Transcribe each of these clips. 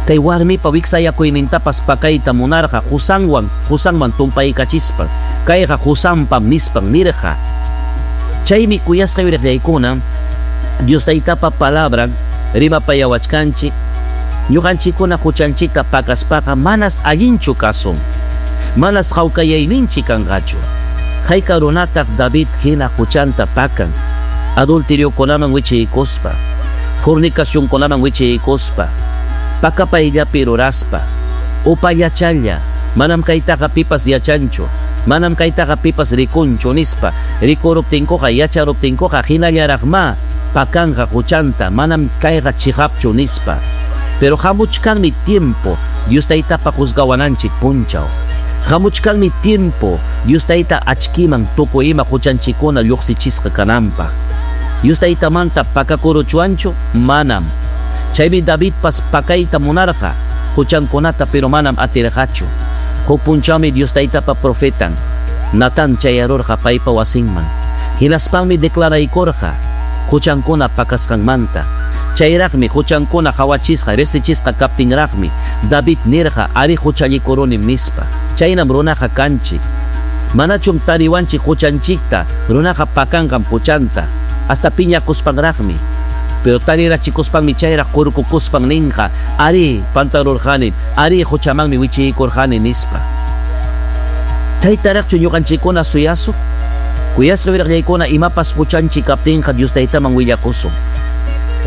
Kay warmipa wiksayakuynintapas pakayta munarqa qusanwan qusanman tumpaykachispan, kayqa qusanpam nispan nirqa. Chaymi kuyasqay uyariqllaykuna, Dios Taytapa palabran rimapayawachkanchik, ñuqanchikkuna huchanchikta pakaspaqa manas allinchu kasun, manas hawkayayninchik kanqachu. Hayka runataq David hina huchanta pakan, adulteriokunaman wichiykuspa, fornicacionkunaman wichiykuspa, pakapayllapi ruraspa, upallachalla, manam kaytaqa pipas yachanchu, manam kaytaqa pipas rikunchu nispa, rikuruptinkuqa, yacharuptinkuqa hinallaraqmá pakanqa huchanta, manam kayqa chiqapchu nispa. Pero hamuchkanmi tiempo Dios Taytapa juzgawananchik punchaw. Hamuchkanmi tiempo Dios Tayta achkiman tukuy ima huchanchikkuna lluqsichisqa kananpaq. Dios Taytamanta pakakuruchwanchu? Manam. Chaymi Davidpas pakayta munarqa huchankunata, pero manam atirqachu. Huk punchawmi Dios Taytapa profetan Natán chayarurqa paypa wasinman. Hinaspanmi declaraykurqa huchankuna pakasqanmanta. Chayraqmi huchankuna qawachisqa, riqsichisqa kaptinraqmi David nirqa, arí, huchallikurunim nispa. Chaynam runaqa kanchik. Manachum tariwanchik huchanchikta, runaqa pakanqam huchanta, hasta piñakuspanraqmi. Pero tarirachikuspanmi chayraq qurkukuspan ninqa, arí, pantarurqanim, arí, huchamanmi wichiykurqani nispa. Chaytaraqchu ñuqanchikkuna suyasun? Kuyasqa wiraqllaykuna, imapas huchanchik kaptinqa Dios Taytaman willakusun.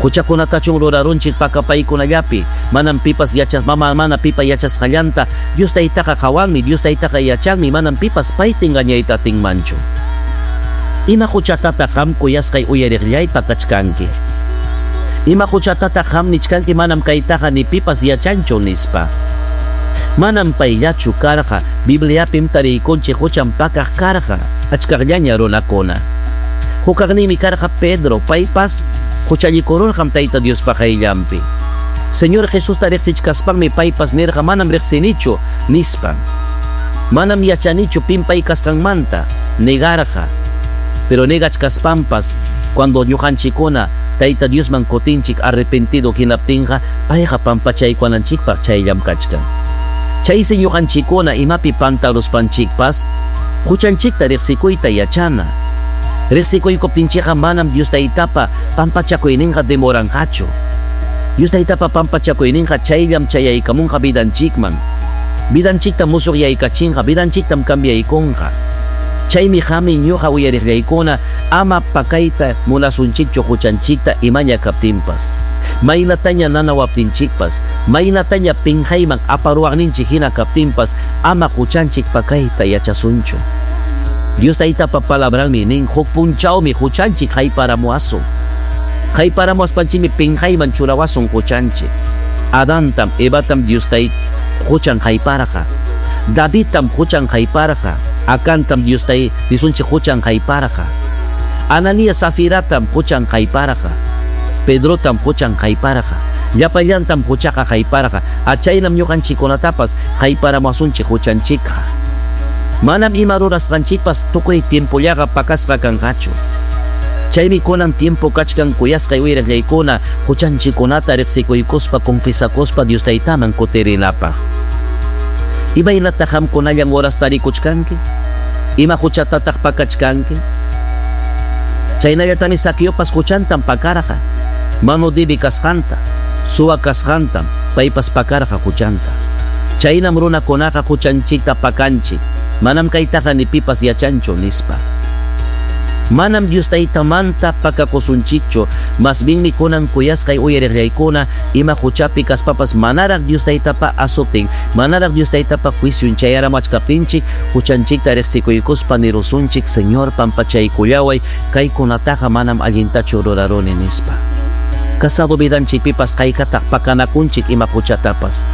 Huchakunatachum rurarunchik pakapaykunallapi, manam pipas yachas, mama mana pipa yachasqallanta. Dios Taytaqa qawanmi, Dios Taytaqa yachanmi, manam pipas payta engañayta atinmanchu. Ima huchatataq qam, kuyasqay uyariqllay, pakachkanki? Ima huchatataq qam nichkanki, manam kaytaqa ni pipas yachanchu nispa? Manam payllachu karqa, Bibliapim tariykunchik huchan pakaq karqa achkaqllaña runakuna. Hukaqninmi karqa Pedro, paypas huchallikururqam Tayta Diospa qayllanpi. Señor Jesusta riqsichkaspanmi paypas nirqa, manam riqsinichu nispan. Manam yachanichu pim pay kasqanmanta, negarqa. Pero negachkaspanpas, cuando ñuqanchikkuna Tayta Diosman kutinchik arrepentido hinaptinqa, payqa pampachaykuwananchikpaq chayllam kachkan. Chaysi ñuqanchikkuna imapi pantaruspanchikpas huchanchikta riqsikuyta yachana. Riqsikuykuptinchikqa manam Dios Taytapa pampachakuyninqa demoranqachu. Dios Taytapa pampachakuyninqa chayllam chayaykamunqa vidanchikman. Vidanchikta musuqyaykachinqa, vidanchiktam cambiaykunqa. Chaymi qami ñuqa uyariqllaykuna ama pakayta munasunchikchu huchanchikta imaña kaptinpas. Maynataña nanawaptinchikpas, maynataña pinqayman aparuwaqninchik hina kaptinpas, ama huchanchik pakayta yachasunchu. Dios Taytapa palabranmi nin, huk punchawmi huchanchik hayparamuwasun. Hayparamuwaspanchikmi pinqayman churawasun huchanchik. Adantam, Evatam Dios Tayta huchan hayparqa. Davidtam huchan hayparqa. Acantam Dios Tayta nisunchik huchan hayparqa. Ananías Safiratam huchan hayparqa. Pedrotam huchan hayparqa. Llapallantam huchaqa hayparqa. Achaynam ñuqanchikkunatapas hayparamuwasunchik huchanchikqa. Manam ima rurasqanchikpas tukuy tiempollaqa pakasqa kanqachu. Chaymi kunan tiempo kachkan, kuyasqay uyariqllaykuna, huchanchikkunata riqsikuykuspa, confesakuspa Dios Taytaman kutirinapaq. Imaynataq qamkunallan horas tarikuchkanki? Ima huchatataq pakachkanki? Chaynallatami Zaqueopas huchantam pakarqa. Manu dibi kasqanta, suwa kasqantam paypas pakarqa huchanta. Chaynam runakunaqa huchanchikta pakanchik. Manam kaytaqa ni pipas yachanchu nispa. Manam Dios Taytamanta pakakusunchikchu, mas bienmi kunan, kuyasqay uyariqllaykuna, ima huchapi kaspapas manaraq Dios Taytapa azoten, manaraq Dios Taytapa juicion chayaramachkaptinchik, huchanchikta riqsikuykuspa nirusunchik, Señor, pampachaykullaway, kaykunataqa manam allintachu ruraruni nispa. Casado vidanchikpipas haykataq pakanakunchik ima huchatapas.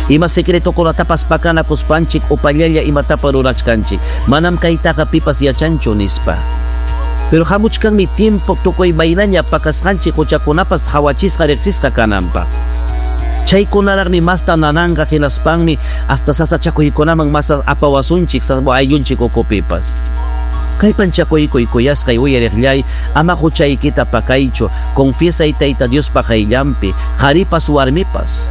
Ima secretokunatapas pakanakuspanchik upallalla imatapa rurachkanchik, manam kaytaqa pipas yachanchu nispa. Pero hamuchkanmi tiempo tukuy maynaña pakasqanchik huchakunapas qawachisqa riqsisqa kananpaq. Chaykunaraqmi masta nananqa, hinaspanmi hasta sasachakuykunaman mas apawasunchik ayllunchik ukupipas. Kallpanchakuykuy, kuyasqay uyariqllay, ama huchaykita pakaychu, confiesay Tayta Diospa qayllanpi, qaripas warmipas.